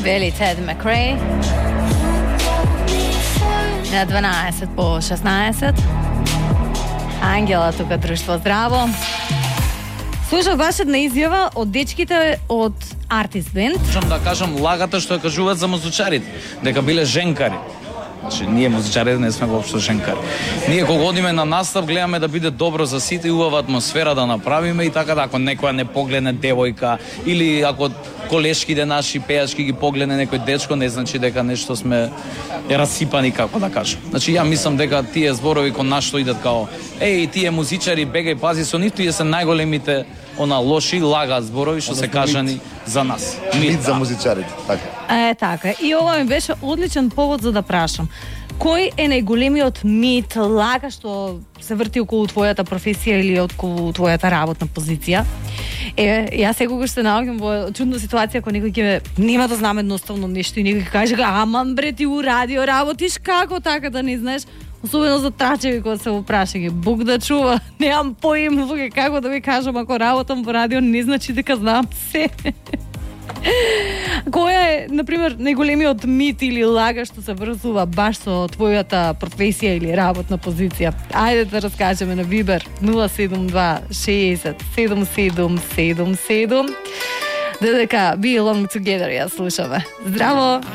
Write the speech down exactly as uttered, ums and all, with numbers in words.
Вели Тед Макрей. На дванаесет по шеснаесет. Ангела тука друштво здраво. Слушав ваша една изјава од дечките од Артист Бенд. Можам да кажам лагата што ја кажуваат за музичарите, дека биле женкари. Значи, ние музичарите не сме воопшто женкари. Ние кога одиме на настав гледаме да биде добро за сите и убава атмосфера да направиме и така да ако некоја не погледне девојка или ако колешките наши пејачки ги погледне некој дечко, не значи дека нешто сме расипани, како да кажам. Значи ја мислам дека тие зборови кон нас што идат као еј тие музичари бегај пази со нив, тие се најголемите она лоши лага зборови што се кажани за нас. Мит за музичарите, така. Е, така. И ова ми беше одличен повод за да прашам. Кој е најголемиот мит, лага што се врти околу твојата професија или околу твојата работна позиција? Е, јас секогаш се наоѓам во чудна ситуација кога некој ќе нема да знаме едноставно нешто и некој ќе каже аман бре ти у радио работиш, како така да не знаеш? Особено за трачеви кога се опраша ги. Бог да чува, немам поим како да ви кажам, ако работам во радио не значи дека знам се. Која е, например, најголемиот мит или лага што се врзува баш со твојата професија или работна позиција? Ајде да раскажеме на Вибер нула седум два шеесет седум седум седум седум. Додека Be Along Together ја слушаме. Здраво!